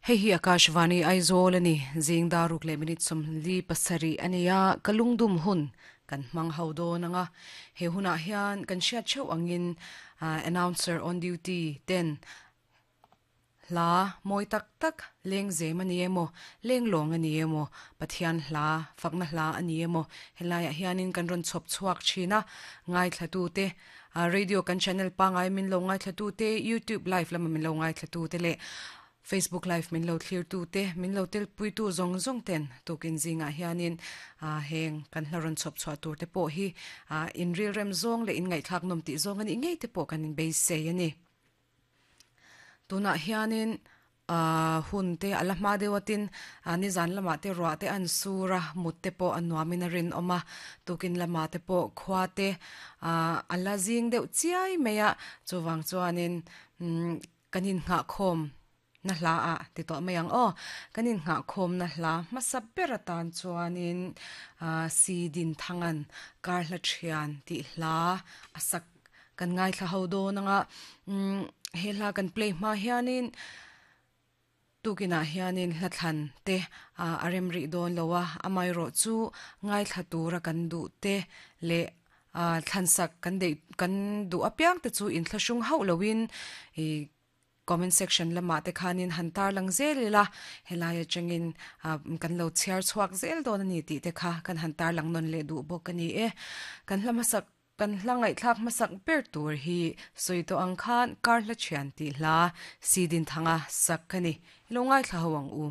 Hei hi Akashvani Aizawl a ni. Zing dar ruk leh minute 47 a ni a, ka lungdum hun kan hmang ho dawn ang a. He hunah hian kan hriat theuh angin announcer on duty ten hla mawi tak tak leng zem a ni emaw, leng lawng a ni emaw, Pathian hla, fakna hla a ni emaw helaiah hianin kan rawn chhawp chhuak thin a, ngaithlatute Radio kan channel pangai min lo ngaithlatute, YouTube live lama min lo ngaithlatute leh Facebook live min lo thlirtute, min lo telpuitu zawng zawng ten tukin zingah hianin heng kan hla rawn chhawp chhuah tur te pawh hi in rilrem zawng leh in ngaihthlak nawm tih zawng a nih ngei te pawh kan inbeisei a ni. Tunah hianin hun te a la hma deuh atin nizan lamah te ruah te an sur a, mut te pawh a nuamin a rinawm a, tukin lamah te pawh khua te a la zing deuh chiai mai a, chuvang chuanin kan innghahkhawm na hla ah ti tawh mai ang aw, kan innghahkhawm na hla hmasa ber atan chuanin Si Dinthanga'n Kar Hla Thian tih hla a sak kan ngaithla ho dawn ang a, he hla kan play hma hianin tukinah hianin hla thlan te a rem rih dawn lo a, amaherawh chu ngaithla tura kan duh te leh thlansak kan deih kan duh apiang te chu inthlahrung hauh loin ih Comment section lamah te khanin han tarlang zel ila, helai atangin kan lo chhiar chhuak zel dawn a ni tih te kha kan han tarlang nawn leh duh bawk a ni e. Kan hla hmasak, kan hla ngaihthlak hmasak ber tur hi sawi tawh ang khan kar hla thian tih hla Sidin Thanga sak ka ni. I lo ngaithla ho ang u.